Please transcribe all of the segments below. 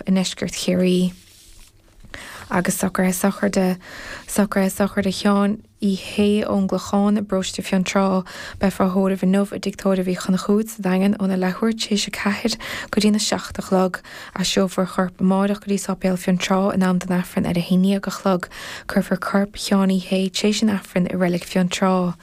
i ndeisceart Chiarraí. Agus socruithe sochraide, socruithe sochraide Sheáin Uí Shé ón gClochán i bparóiste Fionntrá. Beifear á thórramh inniu i dTigh Tórraimh Uí Chonchúir sa Daingean óna leathuair tar éis 4 go dtína 7 a chlog. Aistreofar a chorp amáireach go dtí Sáipéal Fionntrá in am don Aifreann ar a haon dhéag a chlog. Cuirfear corp Sheáin Uí Shé tar éis an Aifrinn i Reilig Fionntrá.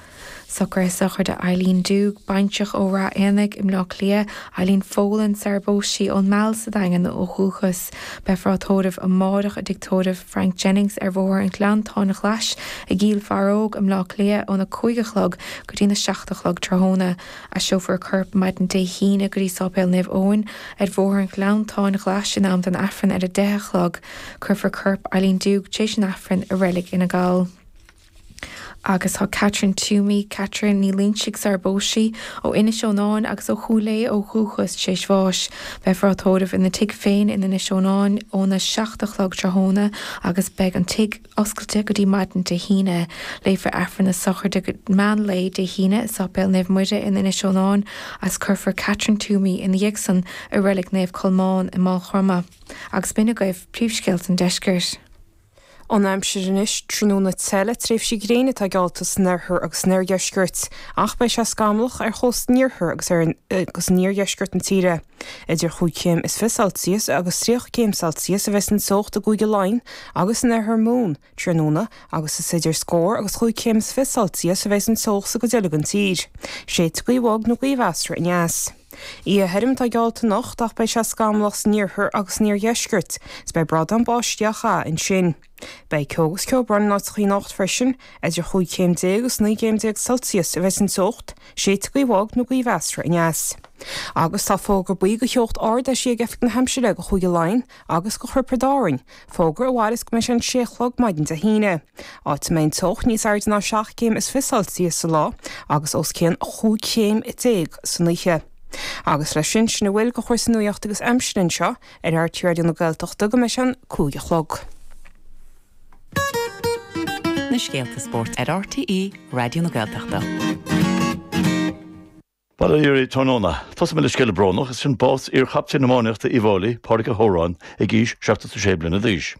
Socruithe sochraide Eileen Doogue, baintreach ó Rath Éanaigh i mBleá Cliath, Eileen Folan, sar a bpós sí, ón Meall sa Daingean ó dhúchas. Beifear á tórramh amáireach i dTigh Tórraimh Frank Jennings ar Bhóthar an Ghleanntáin Ghlais i gCill Faraóg i mBleá Cliath óna 5 a chlog go dtína 7 a chlog tráthnóna. Aistreofar a corp maidin Dé hAoine go dtí Sáipéal Naomh Eoin ar Bhóthar an Ghleanntáin Ghlais in am don Aifreann ar a 10 a chlog. Cuirfear corp Eileen Doogue tar éis an Aifrinn i Reilig Fhine Gall. Agus tá Catherine Toomey, Catherine Ní Loinsigh sar a bpós sí, ó Inis Eonáin agus ó Chúil Aodha ó dhúchas, tar éis bháis. Beifear á tórramh ina tigh féin in Inis Eonáin óna 7 a chlog tráthnóna agus beidh an tigh oscailte go dtí maidin Dé hAoine. Léifear Aifreann na sochraide go meán lae Dé hAoine i Sáipéal Naomh Muire in Inis Eonáin agus cuirfear Catherine Toomey ina dhiaidh san i Reilig Naomh Colmán i Máigh Chromtha. Agus b'in agaibh príomhscéalta an deiscirt. An aimsir anois, tráthnóna te le tréimhsí gréine atá geallta san oirthear agus san oirdheisceart, ach beidh sé scamallach ar chósta an iarthair agus ar agus in iardheisceart na tíre. Idir chúig chéim is fiche Celsius agus 30 céim Celsius a bheas an teocht i gCúige Laighean agus in oirthear Mumhan tráthnóna agus is idir scór agus chúig chéim is fiche Celsius a bheas an teocht sa gcuid eile den tír. Séidfidh gaoth bhog nó gaoth mheasartha aneas. Oíche thirim atá geallta anocht ach beidh sé scamallach san iarthar agus san iardheisceart is beidh brádán báistí á chaitheamh ansin. Beidh ceo agus ceobhrán in áiteachaí anocht freisin. Idir chúig chéim déag agus 19 gcéim Celsius a bheas an teocht, séidfidh gaoth bhog nó gaoth mheasartha aneas. Agus tá fógra buí do theocht ard eisithe ag Oifig na hAimsire do Chúige Laighean agus do Thiobraid Árann, fógra a mhairfeas go mbeidh sé an sé a chlog maidin Dé hAoine, áit a mbeidh an teocht níos airde ná 7 gcéim is fiche Celsius sa lá agus os cionn 15 chéim san oíche. Agus leis sin, sin a bhfuil de chúrsaí nuachta agus aimsire anseo ar RTÉ Raidió na Gaeltachta go mbeidh sé an 5 a chlog. Na scéalta spóirt ar RTÉ Raidió na Gaeltachta. Bail ó Dhia oraibh tráthnóna. Tosóidh mé le scéala brónach, is sin bás iar-chaptaen iománaíochta Uíbh Fhailí, Pádraig Ó hÓráin, ag aois 76 bliana d'aois.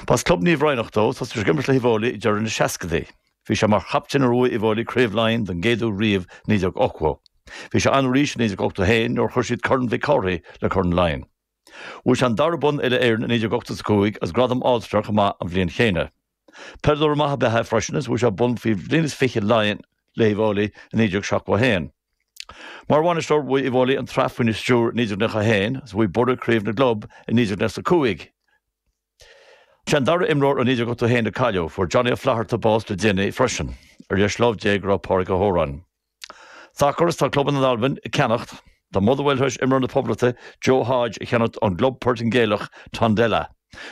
B'as Club Naomh Raghnach dó, thosaigh sé ag imirt le hUíbh Fhailí ag deireadh na seascadaí. Bhí sé mar chaptaen nuair a bhuaigh Uíbh Fhailí Craobh Laighean don gcéad uair riamh i 1980. Bhí sé ann arís i 1981 nuair a chuir siad Corn Mhic Cárthaigh le Corn Laighean. Bhuaigh sé an dara bonn Uile-Éireann i 1985 agus gradam All-Star chomh maith an bhliain chéanna. Peileadóir maith ab ea é freisin agus bhuaigh sé bonn faoi bhliain is fiche Laighean le hUíbh Fhailí i 1971. Mar bhainisteoir bhuaigh Uíbh Fhailí an tsraith faoina stiúir i 1991 agus bhuaigh Boro Craobh na gClub i 1995. Sé an dara imreoir ó 1981 a cailleadh. Fuair Johnny Ó Flatharta bás le déanaí freisin. Ar dheis lámh Dé go raibh Pádraig Ó hÓráin. Sacar is tá clubanna in Albain ag ceannacht. Tá Motherwell tar éis imreoir na Poblachta, Joe Hodge, a cheannacht ón gclub Portaingéalach, Tondela.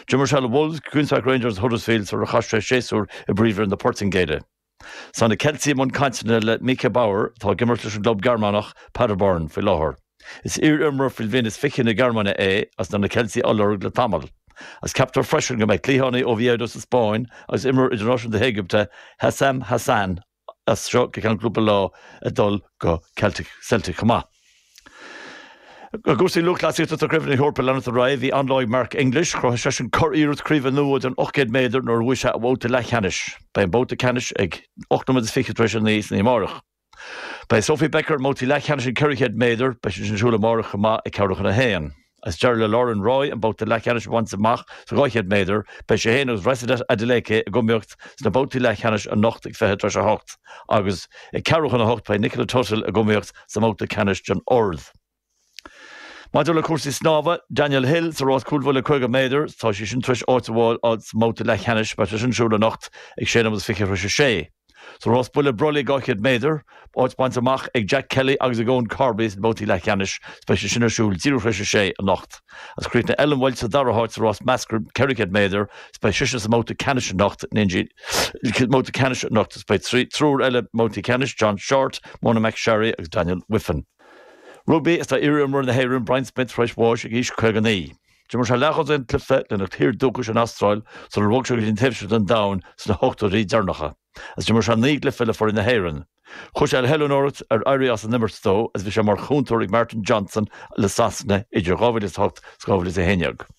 D'imir sé le Wolves, Queens Park Rangers agus Huddersfield sular chaith sé séasúr i bPríomhroinn na Portaingéile. Tá na Ceiltigh i mbun cainteanna le Micha Bauer, atá ag imirt leis an gclub Gearmánach, Paderborn, faoi láthair. Is iar-imreoir faoi bhliain is fiche na Gearmáine é agus tá na Ceiltigh á lorg le tamall. Agus ceaptar freisin go mbeidh cliathánaí Oviedo sa Spáinn agus imreoir idirnáisiúnta na hÉigipte, Hassam Hassan, as seo go ceann cúpla lá ag dul go Celtic Celtic chomh maith. I gcúrsaí lúthchleasaíochta tá Craobh na hEorpa ag leanacht ar aghaidh. Bhí an-lá ag Mark English. Chruthaigh seisean curiarracht craoibhe nua den 800 méadar nuair a bhuaigh sé a bhabhta leathcheannais. Beidh an babhta ceannais ag 8 nóiméad is fiche tar éis a 9 san oíche amárach. Beidh Sophie Becker i mbabhtaí leathcheannais an 400 méadar. Beidh sé sin ar siúl amárach chomh maith ag ceathrú chun a haon. Agus d'éirigh le Lauren Roy an babhta leathcheannais a bhaint amach sa 200 méadar, beidh sí féin agus Rhasidat Adeleke ag iomaíocht sna babhtaí leathcheannais anocht ag 7:40 agus ag ceathrú chun a hocht beidh Nicola Tuthill ag iomaíocht sa mbabhta ceannais den ard. Maidir le cúrsaí snámha, Danielle Hill sa rás cúlbhuille 50 méadar, tá sí sin tar éis áit a fháil sa mbabhta leathcheannais, beidh sé sin ar siúl anocht ag 6 nóiméad is 20 tar éis a sé. Sa rás buille brollaigh 200 méadar, áit bainte amach ag Jack Kelly agus ag Eoin Corby sna babhtaí leathcheannais is beidh sé sin ar siúl díreach tar éis a sé anocht. Agus chríochnaigh Ellen Walshe sa dara háit sa rás measctha 400 méadar is beidh sise sa mbabhta ceannais anocht mbabhta ceannais anocht is beidh triúr eile i mbabhtaí ceannais, John Shortt, Mona McSharry agus Daniel Wiffen. Rugbaí Is tá iar-imreoir na hÉireann Brian Smith tar éis bháis ag aois 59. D'imir sé leathdhosaen cluiche lena thír dúchais an Astráil sular bhog sé go dtí an taobh seo den domhan sna hochtóidí deireanacha, agus d'imir sé 9 gcluiche le foireann na hÉireann. Chuaigh sé le hoiliúnóireacht ar éirí as an imirt dó agus bhí sé mar chúntóir ag Martin Johnson le Sasana idir 2008 is 2011.